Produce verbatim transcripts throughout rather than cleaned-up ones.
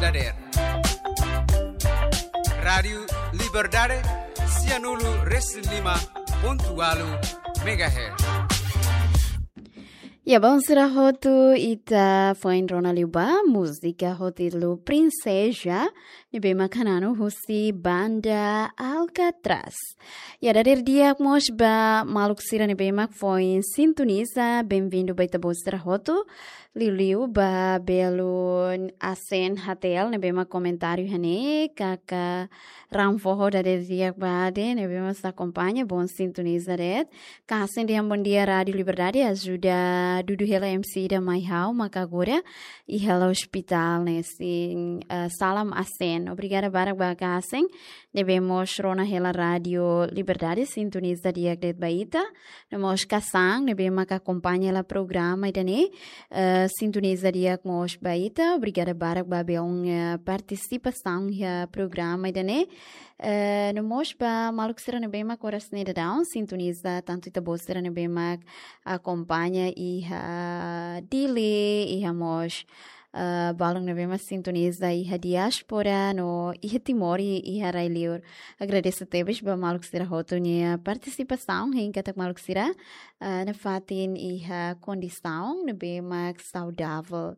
Dader. Rádiu Liberdade, sianulu resin lima pontu ualu megahertz. Ya, bom, sira hotu, ita foin rona liu ba múzika ho títulu Princesa, ne'ebé mak hananu husi banda Alcatraz. Ya, dader di'ak mós ba maluk sira ne'ebé mak foin sintoniza, bem-vindo ba ita-boot sira hotu. Liuliu ba belun Asen Hatel ne'ebé mak komentáriu hanesan, kaka Ram Foho, dader di'ak ba de'it ne'ebé mak akompaña, bom sintoniza de'it. Kasen dehan bom dia Rádiu Liberdade, ajuda dudu hela M C ida mai ha'u maka agora iha ospitál ne'e sin, eh, salam Asen. Obrigada barak ba Kasen ne'ebé mós rona hela Rádiu Liberdade, sintoniza di'ak de'it ba ita. No mós Kasang ne'ebé mak akompaña hela programa ida-ne'e, eh, sintoniza di'ak mós ba ita. Obrigada barak ba be-oan, eh, partisipasaun iha programa ida-ne'e. Eh, no mós ba maluk sira ne'ebé mak oras ne'e daudaun sintoniza, tantu ita-boot sira ne'ebé mak akompaña iha Dili, iha mós, eh, balun ne'ebé mak sintoniza iha diáspora no iha Timor i iha rai-liur. Agradese tebes ba maluk sira hotu nia partisipasaun, hein katak maluk sira, eh, nafatin iha kondisaun ne'ebé mak saudavel.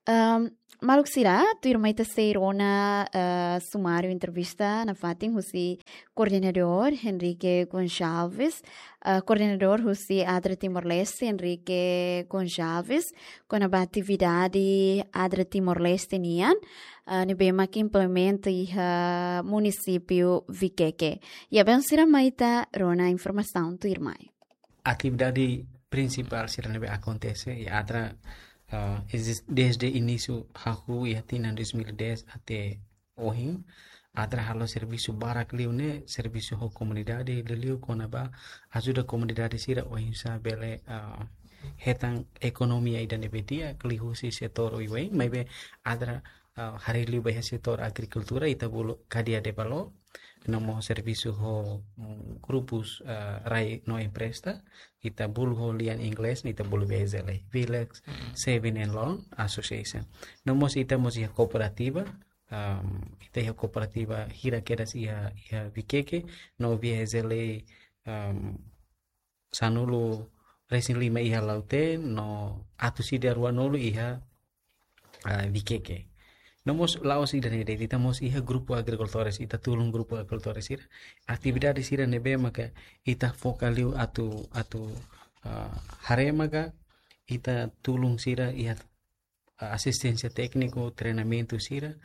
Ehm, maluk sira, tuirmai ita sei rona, eh, sumáriu entrevista nafatin husi koordenadór Henrique Gonçalves, eh, koordenadór husi Adra Timor-Leste Henrique Gonçalves, kona-ba atividade Adra Timor-Leste nian, eh, ne'ebé mak implementa iha munisípiu Viqueque. Ya, bom, sira mai ita rona informasaun tuirmai. Atividade prinsipál sira ne'ebé akontese iha Adra, ah, ezis-, desde inísiu hahú iha tinan dois mil e dez até ohin. Adra halo servisu barak liu ne'e, servisu ho komunidade, liuliu kona-ba ajuda komunidade sira oinsá bele, ah, hetan ekonomia ida ne'ebé di'ak liuhusi setór oioin, maibé Adra, ah, haree liu ba iha setór agrikultura, ita bolu kadeia de valór, no mós servisu ho, mm, grupus, ah, rai no empresta, ita bolu ho lian inglés, ita bolu V S L A, Village Saving and Loan Association. No mós ita mós iha kooperativa, am, ita iha kooperativa hira kedas iha, iha Viqueque, no V S L A, am, sanulu resin lima iha Lautém, no atus ida ruanulu iha, ah, Viqueque. No mós la'ós ida-ne'e de'it, ita mós iha grupu agrikultores, ita tulun grupu agrikultores sira. Atividade sira ne'ebé maka ita foka liu atu, atu, ah, haree maka ita tulun sira iha, ah, asisténsia tékniku, treinamentu sira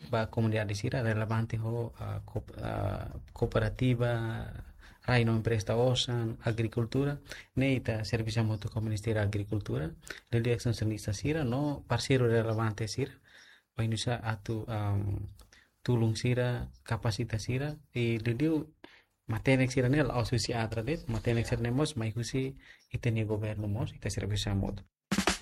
ba komunidade sira relevante ho, ah, koop-, ah, kooperativa, rai no empresta osan, agrikultura, ne'e ita servisu hamutuk ho Ministériu Agrikultura, liuliu ekstensionista sira no parseiru relevante sira, oinsá atu, am, tulun sira, kapasita sira, i liuliu matenek sira-ne'e la'ós husi Adra de'it, matenek sira-ne'e mós mai husi ita-nia governu mós, ita servisu hamutuk.